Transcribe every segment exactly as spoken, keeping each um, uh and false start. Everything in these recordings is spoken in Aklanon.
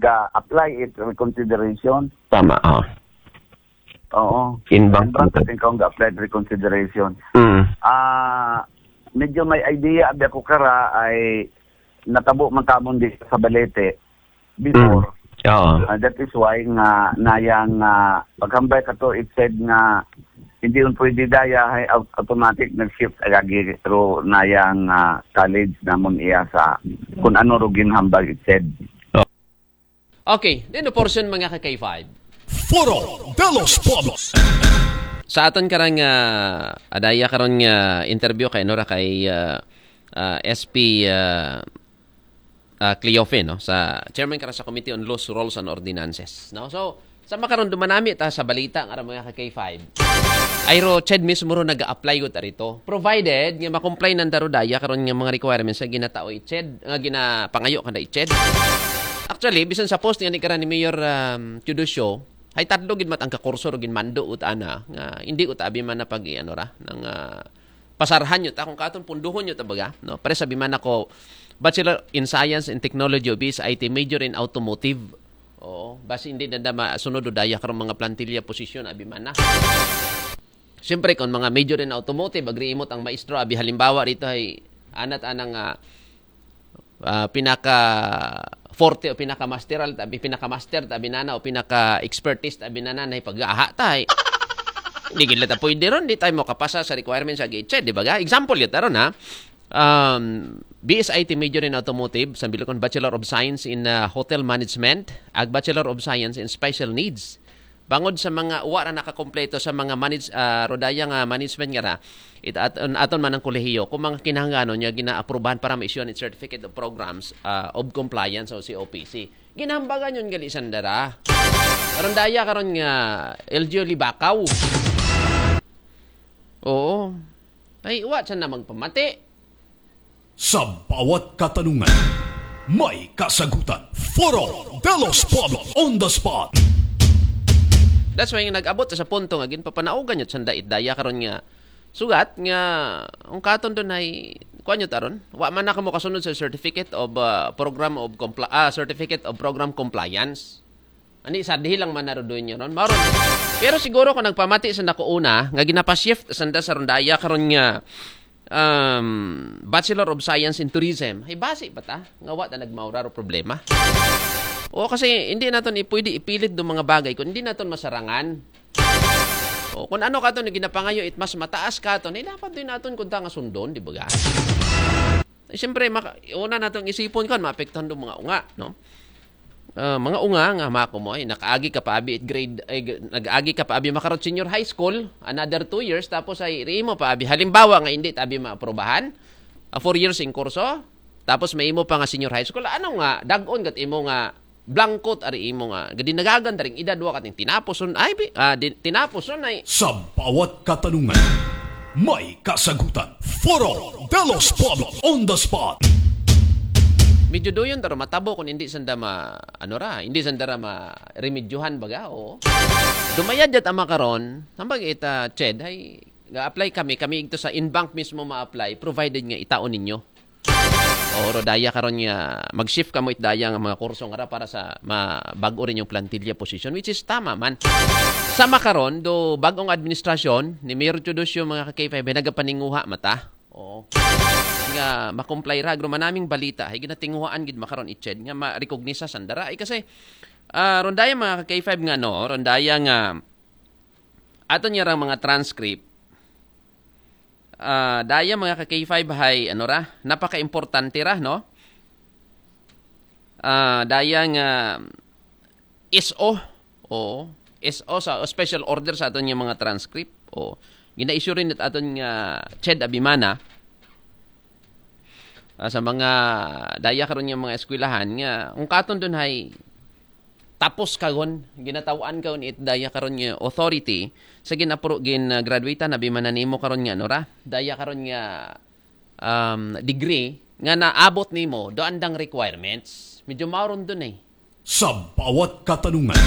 ka-apply it reconsideration. Tama, oh. Oo. In bank. In bank, I think, kung ga-apply it reconsideration. Mm. Ah, medyo may idea abi ako kara ay natabo man kamon di sa Balete before. Oo. Ah, that is why nga nayang ah, paghambal kato, it said nga hindi un pwede daya ay au- automatic nag-shift agagi ro nayang ah, college namon iya sa kung ano ro ginhambal, it said. Okay, then the portion, mga ka K five. Foro de los Pueblos. Sa aton karang ah, adaya karon nga interview kay Nora kay ah, ah, S P ah, ah, Cleofe, no, sa chairman karon sa Committee on Laws, Rules and Ordinances, no. So sa makaron dumanami ta sa balita nga mga ka K five. Ay ro, ched mismo ro nag-apply gud arito. Provided nga ma-comply nanda ro daya karon nga mga requirements nga ginatao i-ched, nga ginapangayo kanda i-ched. Actually, bisan sa post nga ni karan ni Mayor um, Teodosio, hay tatlo gid mat ang kakurso ro ginmando ut ana nga hindi ut abi man na pag ano ra nang ah, pasarhan nyo ta kung katon punduhon nyo ta baga, no? Pare sabi man ako, Bachelor in Science and Technology o B S I T, major in automotive. Oo, basi hindi na da masunod o daya karong mga plantilla posisyon abi man na. Siyempre, kung mga major in automotive, agri imot ang maestro, abi halimbawa rito ay anat anang ah, ah, pinaka forte o pinaka masteral tabi pinaka master tabi nana o pinaka expertise tabi nana na pag-aha tay. Hindi gila ta pwede ron, di tayo makapasa sa requirements sa gate, di ba? Example yun, taron ha. Um, B S I T major in automotive, sa bilukon Bachelor of Science in uh, Hotel Management, ag Bachelor of Science in Special Needs. Bangod sa mga uwa ra nakakompleto sa mga manage, ah, rodaya nga management nga ra, it, at, aton man ang kolehiyo kung mga kinahanglanon niya ginaaprubahan para ma-issue ang Certificate of Programs ah, of Compliance o C O P C. Ginambagan yun gali sandara. Karon daya karon nga L G U Libakaw. Oo. Ay, uwa siya na magpamati. Sa bawat katanungan, may kasagutan. Foro de los Pueblos on the spot. That's why nga nag-abot sa punto nga ginpapanaugan yun sanda it daya karon nga sugat nga ang katon doon ay kuan yun taron. Wa man na kamo kasunod sa Certificate of uh, Program of Compli- ah, Certificate of Program Compliance. Ani sa dihi lang man narudoy niyo ron. Maron. Pero siguro kung nagpamati sa nako una nga ginapa-shift sanda sa rondaya karon nga um, Bachelor of Science in Tourism, ay basi pa ta nga wa ta nagmaura ro problema. O kasi hindi naton ipwede ipilit do mga bagay kung hindi naton masarangan. O kung ano kato ni ginapangayo it mas mataas kato, ni dapat din naton kunta nga sundon, di ba ga? Eh, siyempre, maka, una natong isipon kan maapektahan do mga unga, no? Ah, mga unga nga mako mo ay nakaagi ka pa abi it grade ay g- nag-agi ka pa abi makarot senior high school, another two years, tapos ay ri mo pa abi halimbawa nga hindi ta abi maaprobahan, ah, four years in kurso, tapos may imo pa nga senior high school, ano nga dagon gat imo nga blankot ari imo nga gadinagagan daring edad wa kating tinapos on ay bi- ah, di, tinapos on ay Sa bawat katanungan, may kasagutan. Foro de los Pueblos on the spot. Medyo duyon taro matabo kung hindi sanda ma ano ra, hindi sanda ra ma remedyohan baga o dumayad yat ama karon, hambag ita ched ay ga-apply kami, kami igto sa in-bank mismo ma-apply provided nga itaon ninyo. O rodaya karon nga mag-shift kamo it daya nga mga kurso nga ra para sa mabag-o rin yung plantilla position, which is tama man. Sama karon do bagong administrasyon ni Mayor Teodosio mga ka-K five nagapaninguha mata. Oo. Nga makomply ra agro manaming balita hay ginatinguhaan gid makaron itched nga ma-recognize sandara ay kasi ah, rondaya mga ka-K five nga no, rondaya nga ato niya rang mga transcript. Ah, daya mga ka-K five hay ano ra, napaka-importante ra no. Ah, daya nga S O. Oo. S O sa o special order sa aton nga mga transcript. Oo. Gina-issue rin at aton nga ched abimana ah, sa mga daya karon nga mga eskwelahan nga kung katon dun hay tapos karon ginatawan karon it daya karon nga authority sa ginapro gin uh, graduate na bimananimo karon nga ano ra daya karon nga um, degree nga naabot nimo do andang requirements, medyo mauron dun eh. Sa bawat katanungan,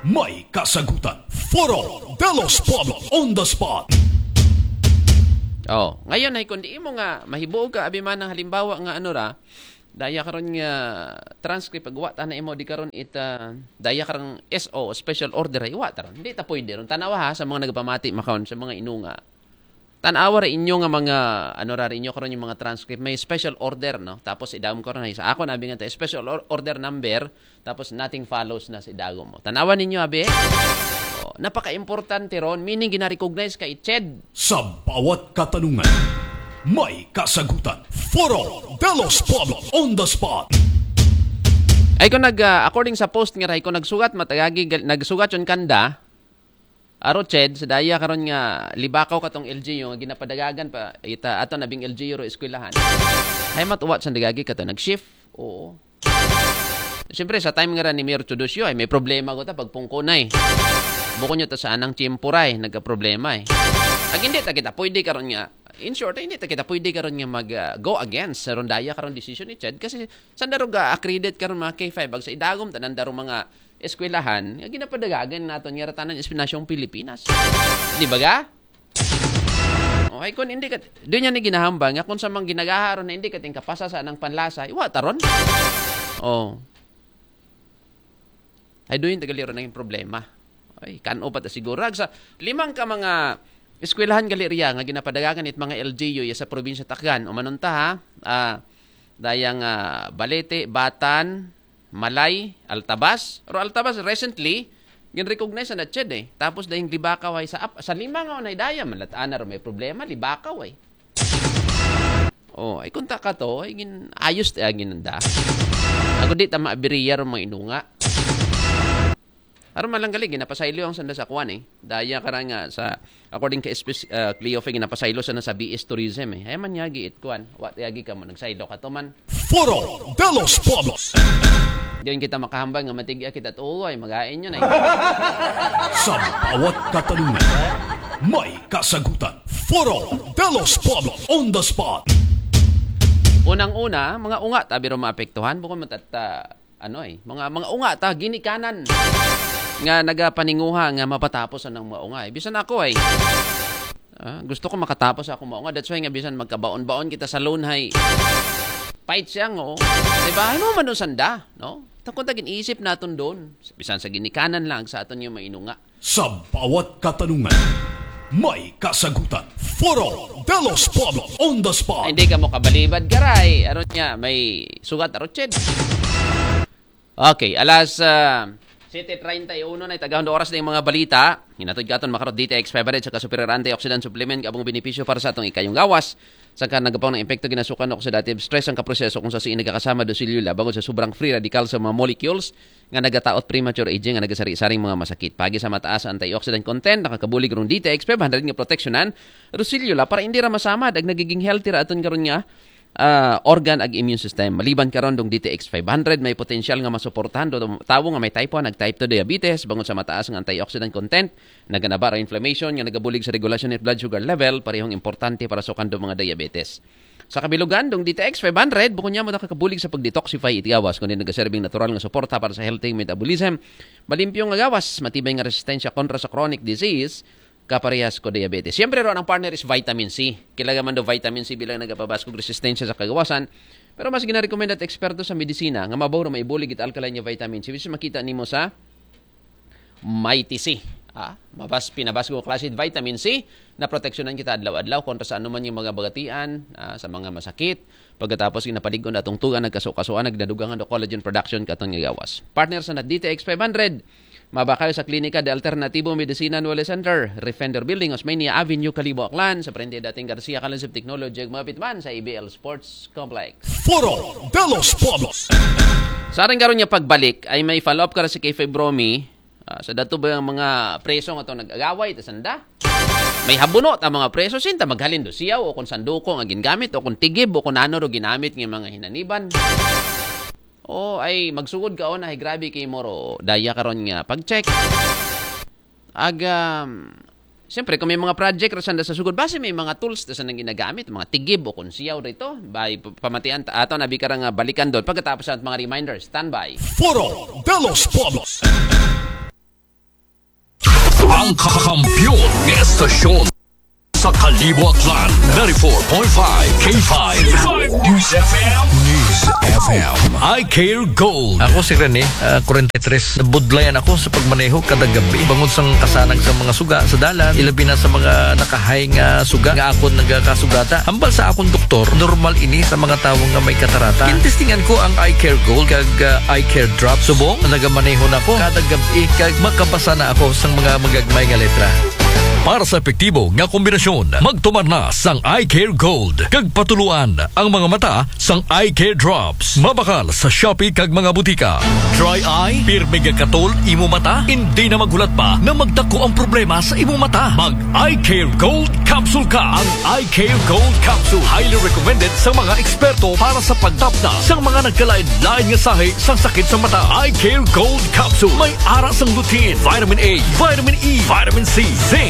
may kasagutan. Foro de los Pueblos on the spot. Oh, ngayon ay kung di mo nga mahibuog ka abi man ang halimbawa nga ano ra Daya karon nga transcript, pag wa ta na imo di karon it, ah, daya karong S O, special order, ay wa ta ron. Hindi ta pwede ron. Tanawa ha, sa mga nagpamati makaon, sa mga inunga. Tanawa ra inyo nga mga, ano ra inyo karon yung mga transcript, may special order, no? Tapos idagom ko ron, ay sa ako na bingan ta special or- order number, tapos nothing follows na sa idagom mo. Tanawa ninyo, abi. Oh, napaka-importante ron, meaning gina-recognize ka i-ched. Sa bawat katanungan, may kasagutan. Foro de los Pueblos on the spot. Ay ko nag, ah, according sa post nga ray ko nagsugat matagagi gal- nagsugat yon kanda. Aro ched sa daya karon nga libakaw katong L G U nga ginapadagagan pa ita ato nabing L G U ro eskwelahan. Ay matuwat sa dagagi kato nag-shift. Oo. Siyempre sa time nga ra ni Mayor Teodosio ay may problema ko ta pagpungko na eh. Bukon nyo ta sa anang tiyempo ra eh, nagka-problema eh. Ag hindi ta kita pwede karon nga in short, hindi ta kita pwede karon nga mag ah, go against sa rondaya karong decision ni Ched kasi sa darog accredit karon mga K five ag sa idagom tanan darong mga eskwelahan nga ginapadagagan naton nga ratanan espinasyong Pilipinas. Di ba ga? Okay, kung hindi ka, doon yan yung ginahambang nga kung sa mga ginagaharon na hindi ka tingkapasa sa anang panlasa, iwa taron. Oh. Ay doon yung tagaliro na yung problema. Ay, kano pa ta siguro. Ag sa limang ka mga eskwelahan galeriya nga ginapadagagan it mga L G U ya sa probinsya Taklan. Umanon ta ha. Ah, dayang ah, Balete, Batan, Malay, Altabas. Ro Altabas recently gin-recognize na ched eh. Tapos dayang Libakaw ay sa ap- sa lima nga unay daya malataan na ro may problema Libakaw ay. Oh, ay kunta ka to, ay gin ayos ti agin nanda. Ako di ta maabiriya ro mga inunga. Aron man lang gali ginapasaylo ang sanda sa kuan eh. Daya karang nga sa according kay S P, uh, Cleofe ginapasaylo sa na sa B S Tourism eh. Ay man yagi it kuan. Wa yagi ka mo nagsaylo ka to man. Foro de los Pueblos. Diyon kita makahambal nga matigya kita tuo ay magain yun ay. Sa bawat katanungan, may kasagutan. Foro de los Pueblos on the spot. Unang-una, mga unga tabi ro maapektuhan bukod matata ano eh, mga mga unga ta ginikanan nga nagapaninguha nga mapatapos anang mga unga eh. Bisan ako ay ah, gusto ko makatapos ako mga unga. That's why nga bisan magkabaon-baon kita sa loan hay fight siya ngo. Di ba? Ano man sanda, no? Takon tagin isip naton doon. Bisan sa ginikanan lang sa aton yung mainunga. Sa bawat katanungan, may kasagutan. Foro de los Pueblos on the spot. Hindi ka mo kabalibad garay. Aron niya, may sugat aron ched. Okay, alas uh, siyete treinta y uno na itagahon oras na yung mga balita. Hinatod ka aton makarot D T X five hundred sa kasupirar antioxidant supplement kabong benepisyo para sa atong ikayong gawas. Sa ka nagapang ng epekto ginasukan o oxidative stress ang kaproseso kung sa siin nagakasama dosilyo labang sa sobrang free radical sa mga molecules nga nagataot premature aging nga nagasari-saring mga masakit. Pagi sa mataas ang antioxidant content, nakakabulig rong D T X five hundred nga proteksyonan, Rosillo la, para hindi ra masamad ag nagiging healthy ra aton karon nga ah, organ ag immune system. Maliban karon dong D T X five hundred, may potensyal nga masuportahan do tawo nga may type one ag type two diabetes, bangod sa mataas nga antioxidant content, naganaba ra inflammation nga nagabulig sa regulasyon ni blood sugar level, parehong importante para sa kando mga diabetes. Sa kabilugan, dong D T X five hundred, bukod niya mo nakakabulig sa pag-detoxify iti gawas, kundi nagaserbing natural nga suporta para sa healthy metabolism, malimpyo nga gawas, matibay nga resistensya kontra sa chronic disease, kaparehas ko diabetes. Siyempre ron ang partner is vitamin C. Kilala man do vitamin C bilang nagapabaskog resistensya sa kagawasan. Pero mas ginarekomenda at eksperto sa medisina nga mabaw ra maibulig it alkaline nga vitamin C which is makita nimo sa Mighty C. Ah, mabas pinabasgo klase vitamin C na proteksyonan kita adlaw-adlaw kontra sa anuman yung mga bagatian, ah, sa mga masakit. Pagkatapos ginapalig-on atong tugan nagkaso-kasuan nagdadugangan do collagen production katon nga gawas. Partner sa na D T X five hundred. Mabakal sa Klinika de Alternatibo Medicina Nuevo Center, Refender Building, Osmeña Avenue, Kalibo, Aklan, sa Prende dating Garcia College of Technology, ug mapit man sa A B L Sports Complex. Foro de los Pueblos. Sa aring karon nga pagbalik, ay may follow-up ka ra si K five Romy, ah, sa dato ba ang mga preso nga to nag-agaway, ta sanda? May habuno ta mga preso, sinta maghalin do siyaw, o kung sanduko nga gingamit, o kung tigib, o kung ano ro ginamit nga mga hinaniban. O, ay, magsugod ka, o, na, ay, grabe kay moro, daya karon nga, pag-check. Ag, um, siyempre, kung may mga project, rasanda sa sugod, base may mga tools, ta sa nang ginagamit, mga tigib, o kung siyaw rito, bay, p- pamatian, ta- ato, nabi ka ra nga balikan doon, pagkatapos sa mga reminders, standby. Foro de los Pueblos. Ang kampiyon ng estasyon. Sa Kalibo, Aklan, ninety-four point five K five News F M. News F M. Eye Care Gold. Ako si Rene, ah, forty-three. Nabudlayan ako sa pagmaneho kada gabi. Bangod sang kasanag sa mga suga sa dalan, ilabi na sa mga nakahay nga suga nga akon nagakasugata. Hambal sa akon doktor, normal ini sa mga tawo nga may katarata. Gintestingan ko ang Eye Care Gold kag, ah, Eye Care Drop. Subong, nagamaneho na ko kada gabi kag makabasa na ako sang mga magagmay nga letra. Para sa epektibo nga kombinasyon, magtumar na sang Eye Care Gold kag patuloan ang mga mata sang Eye Care Drops. Mabakal sa Shopee kag mga butika. Dry eye, pirmi nga katol imo mata, hindi na maghulat pa na magdako ang problema sa imo mata. Mag Eye Care Gold Capsule ka. Ang Eye Care Gold Capsule highly recommended sa mga eksperto para sa pagtapna sa mga nagkalain-lain nga sahi sang sakit sa mata. Eye Care Gold Capsule may ara sang lutein, vitamin A, vitamin E, vitamin C, zinc,